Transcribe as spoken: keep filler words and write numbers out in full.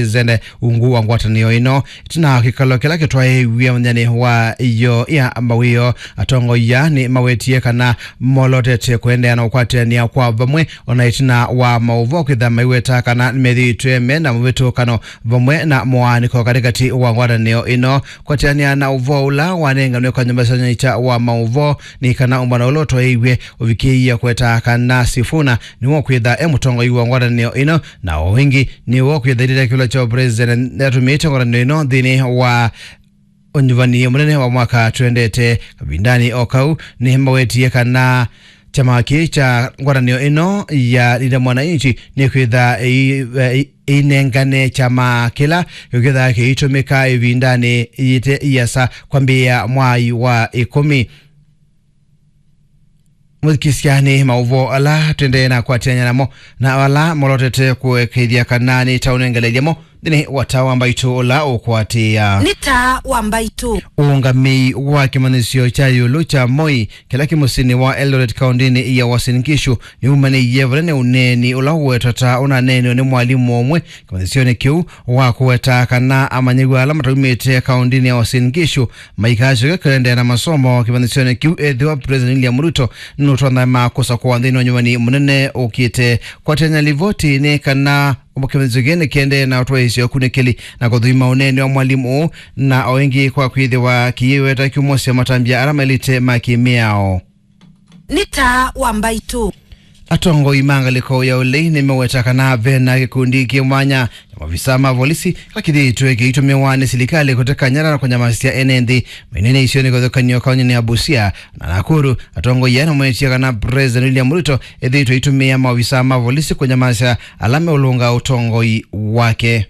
President ungu wa ngwatanĩo ĩno. Ĩtina wa kĩkalo kĩla kĩtwaĩĩw'e mũthenyanĩ wa ĩyo ya mawĩoo, atongoi aa nĩmawetie kana molotete kũendeea na ũkwatĩanĩa kwa vamwe, ona ĩtina wa maũvoo kwĩthĩa maiweta kana nĩmethĩĩtwe me na mũvĩtũkano vamwe na mũaanĩko katĩkatĩ wa ngwatanĩo ĩno. Kũatĩanĩa na ũvoo ũla wanenganwe kwa nyũmba sya ũnyaĩĩkya wa maũvoo, nĩ kana ũmbano ũla ũtwaĩĩw'e ũvikĩĩie kũweta kana Sifuna nĩwe ũkwĩtha e mũtongoi wa ngwatanĩo ĩno, na o ĩngĩ nĩwe ũkwĩtha ĩtĩtya kĩũla kya president nĩatũmĩĩte ngwatanĩo ĩno nthĩnĩ wa ũnyuvani mũnene wa mwaka twendete. Kavindanĩ o kau nĩmawetie kana kyama kĩĩ kya ngwatanĩo ĩno ya Linda Mwananchi nĩkwĩtha ĩi- ĩi- ĩinengane kyama kĩla kĩkwĩtha kĩitũmĩka ĩvindanĩ yĩte iasa kwambĩĩa mwai wa ĩkũmi. Mũthikĩsya nĩ maũvoo ala tũendee na kwatĩanĩa namo na ala molotete kũekeethya kana nĩtaũnengeleelya mo nthĩnĩ wa taa wa mbaitũ ũla ũkwatĩĩa. Nĩ taa wa mbaitũ. Ũũngamĩi wa kĩmanyĩsyo kya ĩũlũ kya Moi kĩla kĩ mũsyĩnĩ wa Eldoret kaũndĩnĩ ya Uasin Gishu nĩwumanĩie vanene ũneeni ũla ũwetwa ta ũnaneenwe nĩ mwalimũ ũmwe kĩmanyĩsyonĩ kĩu wa kũweta kana amanyĩw'a ala mataumĩte kaũndĩnĩ ya Uasin Gishu maikasyoke kũendeea na masomo kĩmanyĩsyonĩ kĩu ethĩwa President William Ruto nũtonya makũsa kwa nthĩnĩ wa nyuvani mũnene ũkĩte. Kwatĩanĩa livoti nĩ kana kĩmanyĩsyo kĩĩ nĩkĩendee na ũtwaĩĩsya ũkunĩkĩli na kũthũima ũneeni wa mwalimũ ũũ, na o ĩngĩ kwa kwĩthĩwa kĩiweta kĩumosya matambya ala maĩlĩte ma kĩmĩao. Nĩ taa wa mbaitũ. Atongoi ma ngalĩko ya ũlei nĩmeweta kana ve na kĩkundi kĩ mwanya kya maovisaa ma volisi kĩla kĩthĩĩtwe kĩitũmĩwa nĩ silikalĩ kũteka nyara na kũnyamasya ene nthĩ mainene isionĩ kĩvathũkany'o kaũnĩnĩ ya Busia na Nakuru. Atongoi aa nĩmetie kana President William Ruto ethĩĩtwe aitũmĩa maovisaa ma volisi kũnyamasya ala meũlũnga ũtongoi wake.